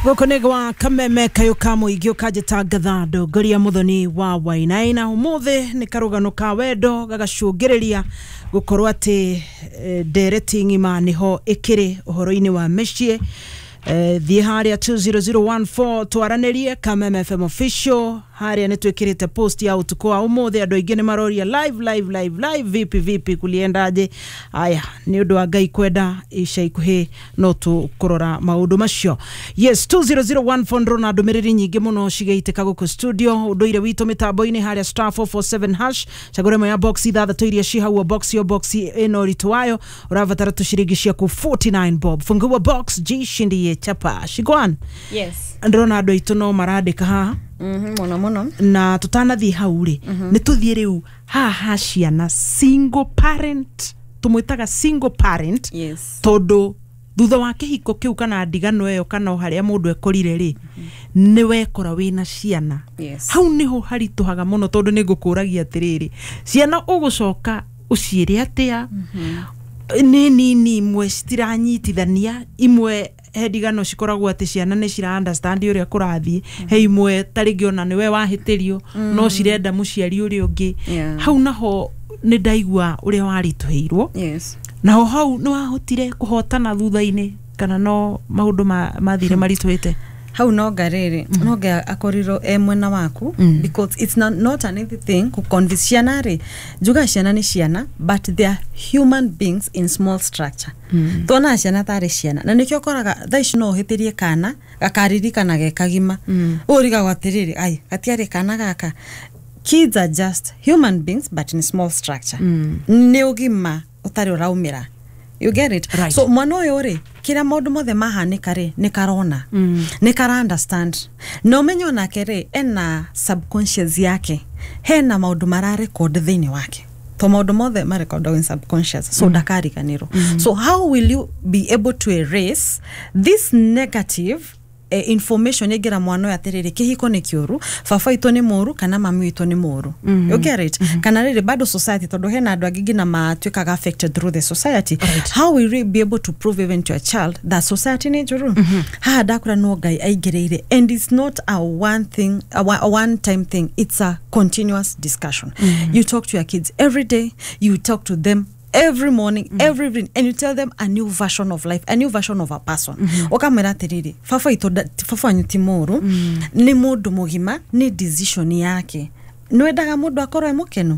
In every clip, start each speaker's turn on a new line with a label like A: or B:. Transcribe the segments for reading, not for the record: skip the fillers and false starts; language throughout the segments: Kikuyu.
A: Gũkũ nĩ gwa Kameme kayũ ka mũingĩ ũkanjĩta ndongoria Muthoni wa Wainaina. Ũmũthĩ nĩ karũgano ka wendo gagacũngĩrĩria gũkorwo atĩ ndereti ng'ima nĩho ĩkĩrĩ ũhoro-inĩ wa mĩciĩ. Thiĩ harĩa 20014 twaranĩrie Kameme FM official. Harĩa nĩ twĩkĩrĩte post ya ũtukũ wa ũmũthĩ. Andũ aingĩ nĩ maroria live, live, live, live, vipi vipi, kuliendaje? Aya, nĩ ũndũ wa Ngai kwenda, ica ikuhĩ no tũkũrora maũndũ macio. Yes, 20014. Ndĩrona ndũmĩrĩri nyingĩ mũno cigĩitĩka gũkũ studio. Ũndũire witũ mĩtambo-inĩ harĩa *447#, cagũra ĩmwe ya box ithathatũ iria ci hau. O box, o box ĩna ũritũ wayo. Ũrabatara tũciringi ciaku 49 bob. Fungua box, jishindie chapa shigwan.
B: Yes.
A: Ndĩrona andũ aitũ no marandĩka haha.
B: Mũno mũno.
A: Na tũtanathiĩ hau rĩ, nĩ tũthiĩ rĩu haha ha ciana, single parent, tũmwĩtaga single parent. Tondũ thutha wa kĩhiko kĩu kana ndigano ĩyo kana o harĩa mũndũ ekorire rĩ, nĩ wekora wĩna ciana. Hau nĩho haritũhaga mũno, tondũ nĩ ngũkũragia atĩrĩrĩ, ciana ũgũcoka ũciĩre atĩa? Nĩ nini, imwe citiranyitithania, imwe he ndigano cikoragwo atĩ ciana nĩ cira understand ũrĩa kũrathiĩ, he imwe ta rĩngĩ ona nĩwe wahĩtĩrio no cirenda mũciari ũrĩa ũngĩ. Hau naho nĩ ndaigua ũrĩa waritũhĩirwo. Naho hau nĩ wahotire kũhotana thutha-inĩ kana no maũndũ mathire maritũhĩte?
B: Hau no ngarĩrĩ no nga akorirwo e mwena waku, because it's not an easy thing ku convince ciana rĩ. Njuga ciana nĩ ciana, but they are human beings in small structure. Tuonaga ciana tarĩ ciana, na nĩkĩo ũkoraga thaa ici no ũhĩtĩrie kana gakaririkana ge kagima. Ũrigagwo atĩrĩrĩ, ai, gatiarĩ kana gaka. Kids are just human beings but in small structure. Nĩ ũgima ũtarĩ ũraumĩra, you get it?
A: Right.
B: So mwana ũyũ rĩ, kĩrĩa maũndũ mothe mahanĩka rĩ, nĩ karona, nĩ kara understand, na ũmenye onake rĩ, ena subconscious yake, hena maũndũ mararecord thĩinĩ wake, to maũndũ mothe marekordagwo in subconscious, so ndakariganĩrwo. So how will you be able to erase this negative information ĩngĩra mwana ũyũ atĩrĩrĩ, kĩhiko nĩ kĩũru, baba witũ nĩ mũũru kana mami witũ nĩ mũũru? You get it? Kana rĩrĩ bado society, tondũ hena andũ angĩ nginya matuĩkaga affected through the society. How will you be able to prove even to a child that society nĩ njũru? Haha ndakũra no Ngai aingĩrĩire, and it's not a one thing, a one time thing, it's a continuous discussion. You talk to your kids every day, you talk to them every morning, every evening, and you tell them a new version of life, a new version of a person. Ukamwĩra atĩrĩrĩ, baba witũ baba wanyu ti mũũru, nĩ mũndũ mũgima, nĩ decision yake. Nĩwendaga mũndũ akorwo e mũkenu?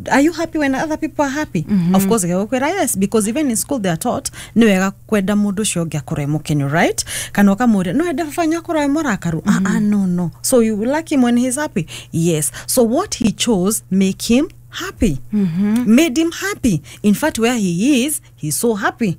B: Are you happy when other people are happy? Of course gĩgũkwĩra yes, because even in school they are taught nĩ wega kwenda mũndũ ũcio ũngĩ akorwo e mũkenu, right? Kana ũkamũria, no wende baba wanyu akorwo e mũrakaru? Ah, ah, no, no. So you like him when he's happy? Yes. So what he chose make him happy, made him happy. In fact, where he is, he's so happy.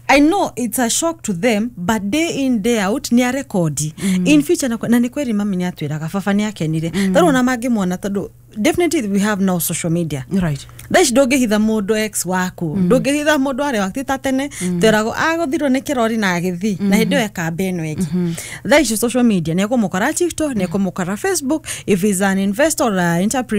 B: I know it's a shock to them, but day in, day out nĩ arekodi in future. Na nĩ kweri mami nĩ atwĩraga baba nĩ akenire. Tarĩu ona mangĩmuona, tondũ definitely we have now social media. Thaa ici ndũngĩhitha mũndũ ex waku, ndũngĩhitha mũndũ arĩa waku. Ti ta tene tweragwo agũthirwo nĩ kĩrori na agĩthi na hĩndĩ ĩyo ekamba ĩno ĩngĩ. Thaa ici social media nĩ ekũmũkora TikTok, nĩ ekũmũkora Facebook, if he's an investor or a entrepreneur.